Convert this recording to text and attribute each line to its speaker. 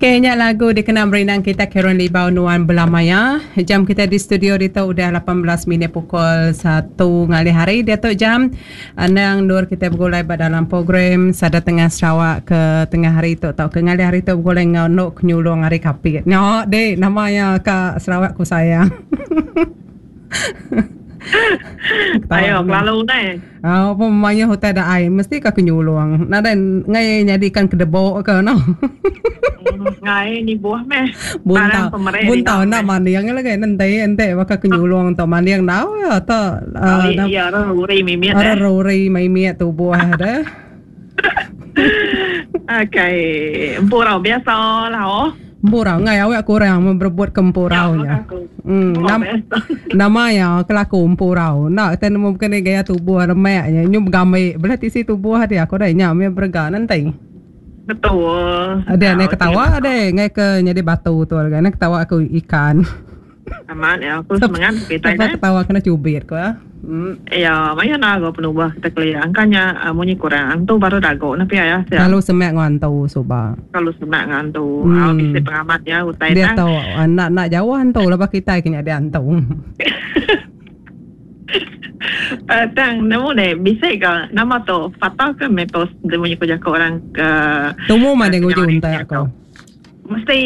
Speaker 1: Okay, nya lagu dikena merindang kita Karen Libau Nuan Belamaya. Jam kita di studio ditu udah 18 minit pukul 1 ngalih hari diatu jam. Anang endur kita begulai ba dalam program Sada Tengah Sarawak ke tengah hari tu tauka ngalih hari tu begulai enggau Nuk Nyulung ari Kapit. Nya dek nama iya ka Sarawak ku sayang.
Speaker 2: Ayo kelalu neh.
Speaker 1: Au pun mayuh utai da ai mesti ka ke nyulung. Nadai ngai nyadikan kedebok ke no.
Speaker 2: Ngai nibuh meh.
Speaker 1: Buntau buntau enda manding lagi enti enti baka ke nyulung tu manding dau ya tu.
Speaker 2: Iya ruri mimit.
Speaker 1: Ruri mimit tubuh deh.
Speaker 2: Okay, empurau biasa lah oh.
Speaker 1: Empurau ngai awak kurang berebut ke empurau nya. Hmm, nam, nama ya kelaku empurau. Enda kita nemu bukan ni gaya tubuh remek nya nyu begambi belah tisi tubuh dia aku dah nya meh berega nanti.
Speaker 2: Betul.
Speaker 1: Ada ne ketawa ada ngai ke nyadi batu tu lagi ne ketawa aku ikan.
Speaker 2: Amat ya, aku semengat
Speaker 1: kita nya. Ketawa kena cubit ko ya.
Speaker 2: Hmm. Ya, maya nago penubah kita kelia. Angkanya munyi kurang antu baru dago na pia ya.
Speaker 1: Kalau semak ngau antu suba.
Speaker 2: Kalau semak ngau antu. Hmm. Bisi pengamat ya utai
Speaker 1: Dia tahu nak nak jauh antu lah kita kena dia antu.
Speaker 2: Tang nemu deh bisi ga nama tu fakta ke mitos dia munyi ko jako orang ke
Speaker 1: Tumu mah dia nguji untak ko.
Speaker 2: Mesti.